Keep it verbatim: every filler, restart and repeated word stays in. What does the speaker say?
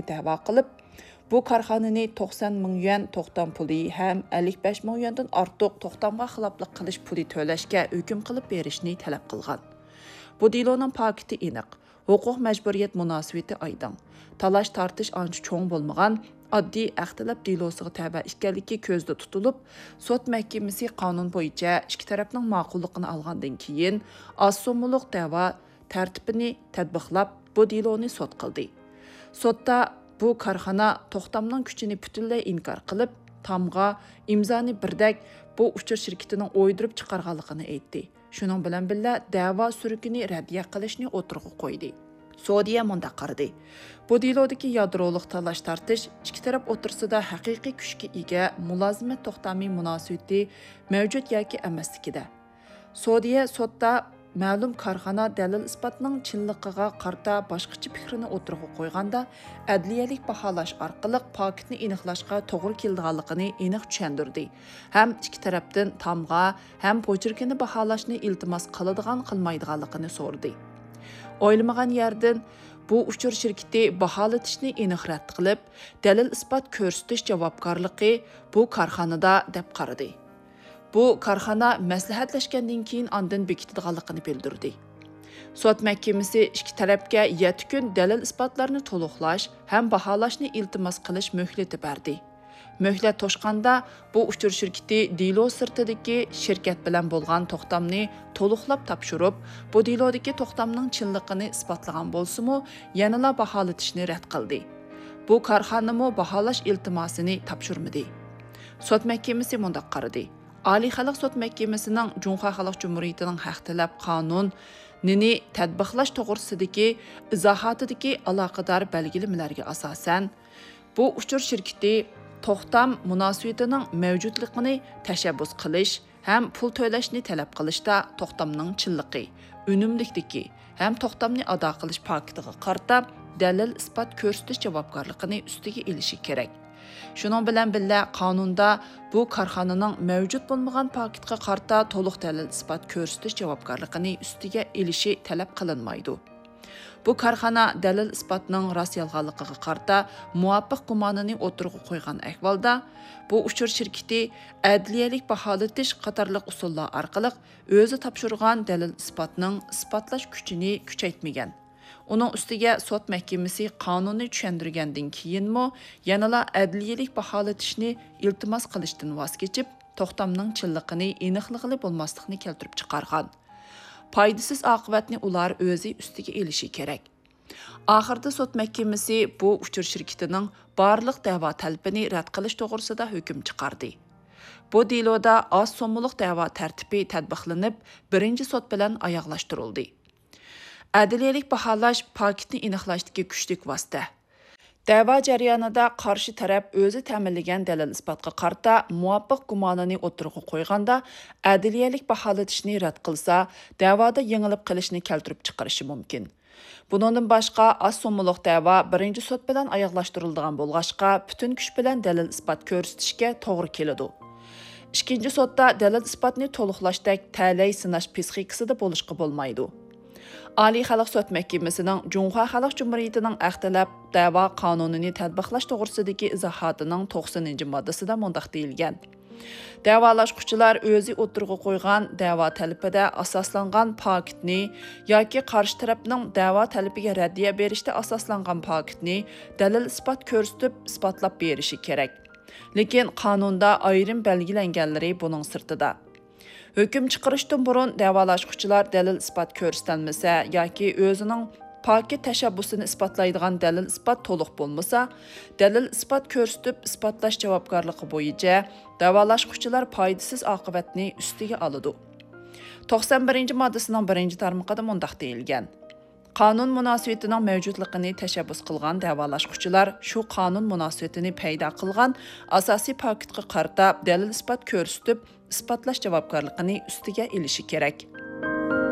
دەۋا قىلىپ، بۇ كارخانىنى توقسان مىڭ يۈەن توختام پۇلى ھەم ئەللىك بەش مىڭ يۈەندىن ئارتۇق توختامغا خىلاپلىق قىلىش پۇلى تۆلەشكە ھۆكۈم قىلىپ بېرىشنى تەلەپ قىلغان. بۇ دېلونىڭ پاكىتى ئېنىق، ھوقۇق مەجبۇرىيەت مۇناسىۋىتى ئايدىڭ، تالاش-تارتىش ئانچە چوڭ بولمىغان، ئاددىي ھەق تەلەپ دېلوسىغا تەۋە ئىكەنلىكى كۆزدە تۇتۇلۇپ، سوت مەھكىمىسى قانۇن بويىچە ئىككى تەرەپنىڭ ماقۇللۇقىنى ئالغاندىن كېيىن، ئاز سوممىلىق دەۋا تەرتىپىنى تەتبىقلاپ، بۇ دېلونى سوت قىلدى. سوتتا بۇ كارخانا توختامنىڭ كۈچىنى پۈتۈنلەي ئىنكار قىلىپ، تامغا، ئىمزانى بىردەك بۇ ئۇچۇر شىركىتىنىڭ ئويدۇرۇپ چىقارغانلىقىنى ئېيتتى. شۇنىڭ بىلەن بىللە، دەۋا سۈرۈكىنى رەددىيە قىلىشنى ئوتتۇرىغا قويدى. سودىيە مۇنداق قارىدى: بۇ دېلودىكى يادرولۇق تالاش-تارتىش ئىككى تەرەپ ئوتتۇرىسىدا ھەقىقىي كۈچكە ئىگە مۇلازىمەت توختامى مۇناسىۋىتى مەۋجۇت ياكى ئەمەسلىكىدە. سودىيە سوتتا مەلۇم كارخانا دەلىل-ئىسپاتنىڭ چىنلىقىغا قارىتا باشقىچە پىكىرنى ئوتتۇرىغا قويغاندا، ئەدلىيەلىك باھالاش ئارقىلىق پاكىتنى ئېنىقلاشقا توغرا كېلىدىغانلىقىنى ئېنىق چۈشەندۈردى ھەم ئىككى تەرەپتىن تامغا ھەم پوچېركىنى باھالاشنى ئىلتىماس قىلىدىغان، قىلمايدىغانلىقىنى سورىدى. ئويلىمىغان يەردىن بۇ ئۇچۇر شىركىتى باھالىتىشنى ئېنىق رەت قىلىپ، دەلىل-ئىسپات كۆرسىتىش جاۋابكارلىقى بۇ كارخانىدا دەپ قارىدى. بۇ كارخانا مەسلىھەتلەشكەندىن كېيىن ئاندىن بېكىتىدىغانلىقىنى بىلدۈردى. سوت مەھكىمىسى ئىككى تەرەپكە يەتتە كۈن دەلىل-ئىسپاتلارنى تولۇقلاش ھەم باھالاشنى ئىلتىماس قىلىش مۆھلىتى بەردى. مۆھلەت توشقاندا، بۇ ئۇچۇر شىركىتى دېلو سىرتىدىكى شىركەت بىلەن بولغان توختامنى تولۇقلاپ تاپشۇرۇپ، بۇ دېلودىكى توختامنىڭ چىنلىقىنى ئىسپاتلىغان بولسىمۇ، يەنىلا باھالىتىشنى رەت قىلدى. بۇ كارخانىمۇ باھالاش ئىلتىماسىنى تاپشۇرمىدى. سوت مەھكىمىسى مۇنداق قارىدى: ئالىي خەلق سوت مەھكىمىسىنىڭ جۇڭخۇا خەلق جۇمھۇرىيىتىنىڭ ھەق تەلەپ قانۇنىنى تەتبىقلاش توغرىسىدىكى ئىزاھاتىدىكى ئالاقىدار بەلگىلىمىلەرگە ئاساسەن، بۇ ئۇچۇر شىركىتى توختام مۇناسىۋىتىنىڭ مەۋجۇتلۇقىنى تەشەببۇس قىلىش ھەم پۇل تۆلەشنى تەلەپ قىلىشتا توختامنىڭ چىنلىقى، ئۈنۈملۈكلۈكى ھەم توختامنى ئادا قىلىش پاكىتىغا قارىتا دەلىل-ئىسپات كۆرسىتىش جاۋابكارلىقىنى ئۈستىگە ئېلىشى كېرەك. شۇنىڭ بىلەن بىللە، قانۇندا بۇ كارخانىنىڭ مەۋجۇت بولمىغان پاكىتقا قارىتا تولۇق دەلىل-ئىسپات كۆرسىتىش جاۋابكارلىقىنى ئۈستىگە ئېلىشى تەلەپ قىلىنمايدۇ. بۇ كارخانا دەلىل-ئىسپاتنىڭ راست-يالغانلىقىغا قارىتا مۇۋاپىق گۇمانىنى ئوتتۇرىغا قويغان ئەھۋالدا، بۇ ئۇچۇر شىركىتى ئەدلىيەلىك باھالىتىش قاتارلىق ئۇسۇللار ئارقىلىق ئۆزى تاپشۇرغان دەلىل-ئىسپاتنىڭ ئىسپاتلاش كۈچىنى كۈچەيتمىگەن. ئۇنىڭ ئۈستىگە سوت مەھكىمىسى قانۇننى چۈشەندۈرگەندىن كېيىنمۇ يەنىلا ئەدلىيەلىك باھالىتىشنى ئىلتىماس قىلىشتىن ۋاز كېچىپ، توختامنىڭ چىنلىقىنى ئېنىقلىغىلى بولماسلىقنى كەلتۈرۈپ چىقارغان. پايدىسىز ئاقىۋەتنى ئۇلار ئۆزى ئۈستىگە ئېلىشى كېرەك. ئاخىرىدا سوت مەھكىمىسى بۇ ئۇچۇر شىركىتىنىڭ بارلىق دەۋا تەلىپىنى رەت قىلىش توغرىسىدا ھۆكۈم چىقاردى. بۇ دېلودا ئاز سوممىلىق دەۋا تەرتىپى تەتبىقلىنىپ، بىرىنچى سوت بىلەن ئاياغلاشتۇرۇلدى. ئەدلىيەلىك باھالاش پاكىتنى ئېنىقلاشتىكى كۈچلۈك ۋاسىتە. دەۋا جەريانىدا قارشى تەرەپ ئۆزى تەمىنلىگەن دەلىل-ئىسپاتقا قارىتا مۇۋاپىق گۇمانىنى ئوتتۇرىغا قويغاندا، ئەدلىيەلىك باھالىتىشنى رەت قىلسا، دەۋادا يېڭىلىپ قېلىشنى كەلتۈرۈپ چىقىرىشى مۇمكىن. بۇنىڭدىن باشقا، ئاز سوممىلىق دەۋا بىرىنچى سوت بىلەن ئاياغلاشتۇرۇلىدىغان بولغاچقا، پۈتۈن كۈچ بىلەن دەلىل-ئىسپات كۆرسىتىشكە توغرا كېلىدۇ. ئىككىنچى سوتتا دەلىل-ئىسپاتنى تولۇقلاشتەك تەلەي سىناش پىسخىكىسىدا بولۇشقا بولمايدۇ. ئالىي خەلق سوت مەھكىمىسىنىڭ جۇڭخۇا خەلق جۇمھۇرىيىتىنىڭ ھەق تەلەپ دەۋا قانۇنىنى تەتبىقلاش توغرىسىدىكى ئىزاھاتىنىڭ توقسىنىنچى ماددىسىدا مۇنداق دېيىلگەن: دەۋالاشقۇچىلار ئۆزى ئوتتۇرىغا قويغان دەۋا تەلىپىدە ئاساسلانغان پاكىتنى ياكى قارشى تەرەپنىڭ دەۋا تەلىپىگە رەددىيە بېرىشتە ئاساسلانغان پاكىتنى دەلىل-ئىسپات كۆرسىتىپ ئىسپاتلاپ بېرىشى كېرەك. لېكىن قانۇندا ئايرىم بەلگىلەنگەنلىرى بۇنىڭ سىرتىدا. ھۆكۈم چىقىرىشتىن بۇرۇن دەۋالاشقۇچىلار دەلىل-ئىسپات كۆرسىتەلمىسە ياكى ئۆزىنىڭ پاكىت تەشەببۇسىنى ئىسپاتلايدىغان دەلىل-ئىسپات تولۇق بولمىسا، دەلىل-ئىسپات كۆرسىتىپ ئىسپاتلاش جاۋابكارلىقى بويىچە دەۋالاشقۇچىلار پايدىسىز ئاقىۋەتنى ئۈستىگە ئالىدۇ. توقسان بىرىنچى ماددىسىنىڭ بىرىنچى تارمىقىدا مۇنداق دېيىلگەن: قانۇن مۇناسىۋىتىنىڭ مەۋجۇتلۇقىنى تەشەببۇس قىلغان دەۋالاشقۇچىلار شۇ قانۇن مۇناسىۋىتىنى پەيدا قىلغان ئاساسىي پاكىتقا قارىتا دەلىل-ئىسپات كۆرسىتىپ ئىسپاتلاش جاۋابكارلىقىنى ئۈستىگە ئېلىشى كېرەك.